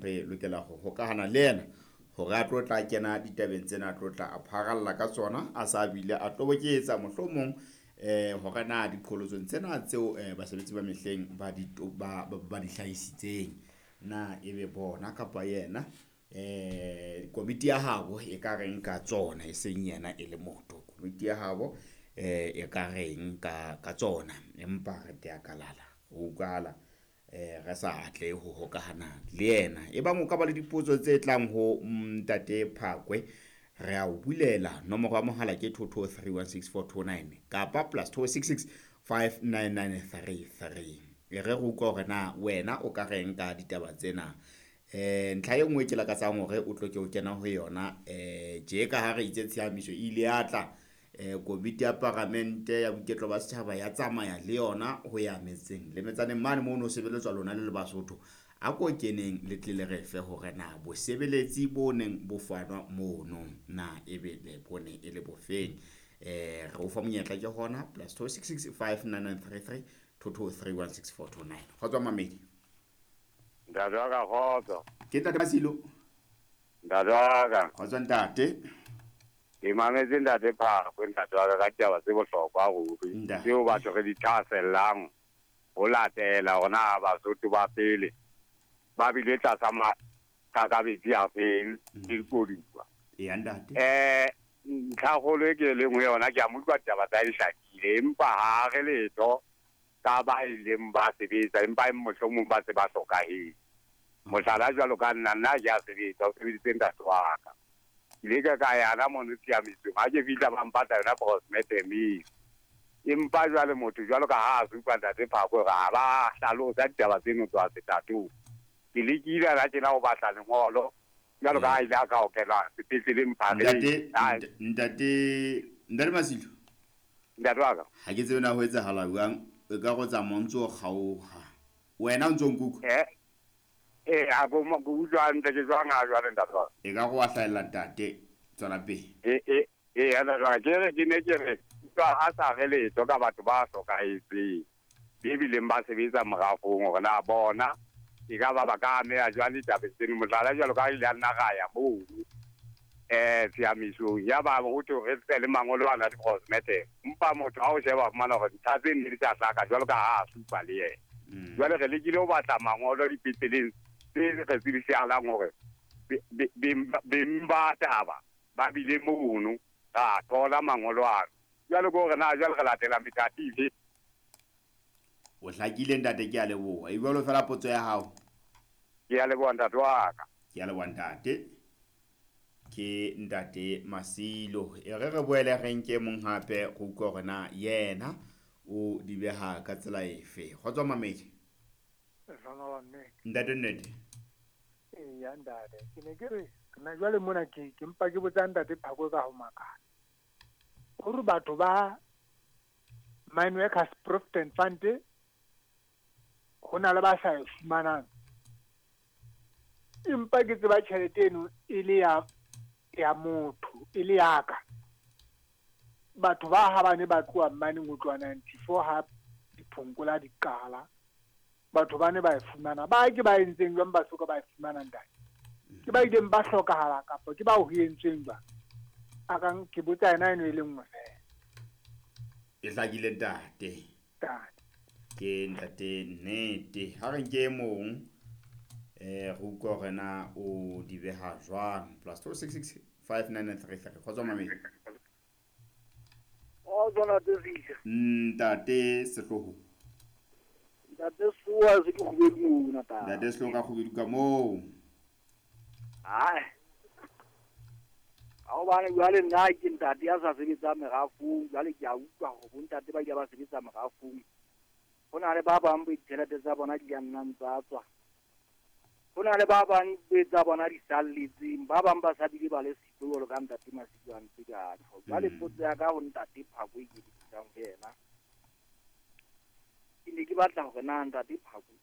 Re lokela ho hokahana le yena hore a tlo tla kena ditabeng tsena, a tlo tla a pharalla ka tsona, a sa bile a toboketsa mohlomong hore na diqholotsong tsena tseo basebetsi ba mehleng ba di ba di hlahisitseng, na ebe bona kapa yena komiti ya habo e ka reng ka tsona, e seng yena e le motho, komiti ya habo e ka reng ka tsona. Empa re tea kalala ho utlwahala re sa atlehe ho hokahana le yena. Ebang o ka ba le dipotso tse tlang ho Ntate Phakwe, re a o bulela nomoro ya mohala ke 22316429 kapa +266 59933. E re re utlwa hore na wena o ka reng ka ditaba tsena. Ntlha e nngwe ke lakatsang hore o tlo ke o kena ho yona, tje ka ha re itse tshiamiso e ile ya tla, komiti ya paramente ya boiketlo ba setjhaba ya tsamaya le yona ho ya metseng le metsaneng mane moo no sebeletswa lona le le Basotho. A ko keneng le tle le re fe hore na bosebeletsi bo neng bo fanwa mono na ebe le bone e le bofeng. Re o fa monyetla ke hona +266 59933 22316429. Kgotso mamedi. Ntate wa ka, kgotso. Ke ntate Masilo. Ntate wa ka. Kgotso ntate. Ke mametse ntate Phakwe, ntate wa ka, ka ditaba tse bohlokwa ruri. Tseo batho re di thahasellang ho latela hore na Basotho ba pele ba bile tlasa maqakabetsi a feng le dikoduwa. Eya ntate. Ntlhakgolo e ke leng ho yona, ke a mo utlwa ditaba tsa di hlakile, empa ha re letho ka ba ileng ba sebetsa, empa mohlomong ba se ba hlokahetse. Mohlala jwalo ka nna, nna ke a sebetsa, o sebeditse ntate wa ka. Ke ile ka yana mono tshiamisong, ha ke fihla ba mpatla yona postmortem. Empa jwale motho jwalo ka ha a supa ntate Phakwe hore ha ba hlalosa ditaba tseno tswa setatong. Ke lekile hana tjena ho batla lengolo jwalo ka ha ile a ka okelwa sepetleleng Phareng. Ntate Masilo. Ntate wa ka. Ha ke tsebe na ho etsahala jwang, e ka go tsamaya o ntso o kgaoha. Wena o ntso nkutlwa? A ko ko utlwa hantle, ke jwang ha jwale ntate wa ka? E ka go wa hlahella ntate, tswela pele. Ntate wa ka, ke re ke ne ke re utlwa a sa re letho ka batho ba hlokahetseng, be bileng ba sebetsa morafong, hore na bona e ka ba ba ka ameha jwang ditabeng tseno. Mohlala jwalo ka ha ile a nna ra ya mono tshiamisong, ya ba ho thwe re tle le mangolo ana di-postmortem. Empa motho ha o sheba fumana hore ntlha tse ne di sa hlaka jwalo ka ha a supa le yena. Jwale re lekile ho batla mangolo dipetleleng tse re tsebisahalang hore beng ba taba ba bile mono, ra thola mangolo ano. Jwale ke hore na jwale re latela methati efe? O hlakile ntate, ke a leboha. E jwalo fela potso ya hao. Ke a leboha ntate wa ka. Ke a leboha ntate. Ke ntate Masilo. E re re boele re nke mong hape go utlwa hore na yena o di beha ka tsela efe. Kgotso mamedi. Ntate Nnete. Eya ntate, ke ne ke re nna jwale mona ke mpa ke botsa ntate Phakwe ka ho makala. Hore batho ba Mine Workers Provident Fund ho na le ba sa e fumanang. Empa ke tseba tjhelete eno e le ya motho, e le ya ka. Batho ba ha ba ne ba tloha mane ho tloha 94 ha diphonkola di qala, batho ba ne ba e fumana. Ba ke ba entseng jwang ba soka ba e fumana ntate? Ke ba ileng ba hlokahala kapa ke ba ho entsweng jwang? A kang ke botsa yena eno e le nngwe fela. E hlakile ntate. Ntate. Ke ntate Nnete. Ha re nke e mong, re utlwe hore na o di beha jwang. +266 59933. Kgotso mamedi. Kgotso ntate Fisha. Ntate Sehloho. Ntate Sehloho se ke kgubedu mona tata. Ntate Sehloho ka kgubedu ka moo. Hai. Ha hobane jwale nna ke ntate ya sa sebetsang merafong, jwale ke a utlwa hore bontate ba ile ba sebetsa merafong. Ho na le ba bang bo ditjhelete tsa bona di ka nnang tsa tswa. Ho na le ba bang be tsa bona di salletseng, ba bang ba sa bile ba le siko jwalo ka ntate Masilo a ntse ka tjho. Jwale potso ya ka ho ntate Phakwe ke di bitsang ho yena. Ke ne ke batla hore na ntate Phakwe